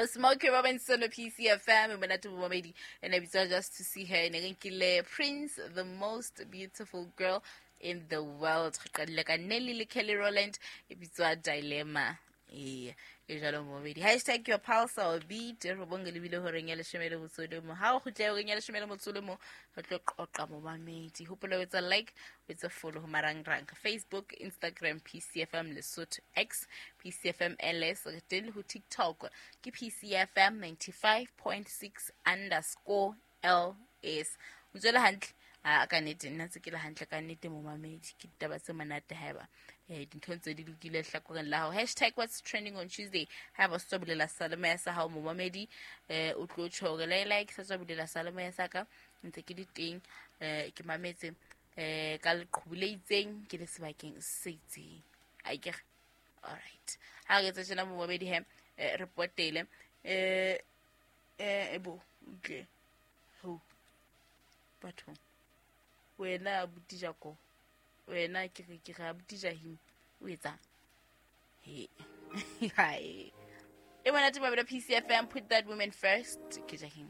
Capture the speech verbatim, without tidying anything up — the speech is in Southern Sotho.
Smokey Robinson P C F M monate momamedi ene bitswa Just to See Her, ne re nkile Prince, The Most Beautiful Girl in the World. Re qadile ka Nelly le Kelly Rowland e bitswa Dilemma. Ee, e jalo momamedi. Hashtag your pulse or beat re bonge lebile horeng ya leshome le motso le mo. Ha o kgutle horeng ya leshome le motso le mo, re tlo qoqa momamedi. Hopola o etsa like, o etsa follow ho marangrang, Facebook, Instagram, P C F M Lesotho, X, P C F M L S, re teng le ho TikTok ke P C F M ninety-five point six underscore L S. O tswele hantle. A ka nnete nna tse ke le hantle ka nnete momamedi, ke ditaba tse monate haeba eh dintho tse di lokile hlakoreng la hao. Hashtag what's trending on Tuesday. Haeba o sa bulela salemoya sa hao momamedi, eh o tlo tjho hore le like sa tswa bulela salemoya sa ka ntse ke di teng, eh ke mametse eh ka leqhubu le itseng ke le sebakeng se itseng. A ke re all right. Ha re etsa tjena momamedi he, eh, re potele eh eh ebo utlwe ho batho wena abuti Jaco, wena ke re ke re abuti Jahim o etsang? He. Hai. E monate mabelo P C F M, put that woman first. Ke Jahim.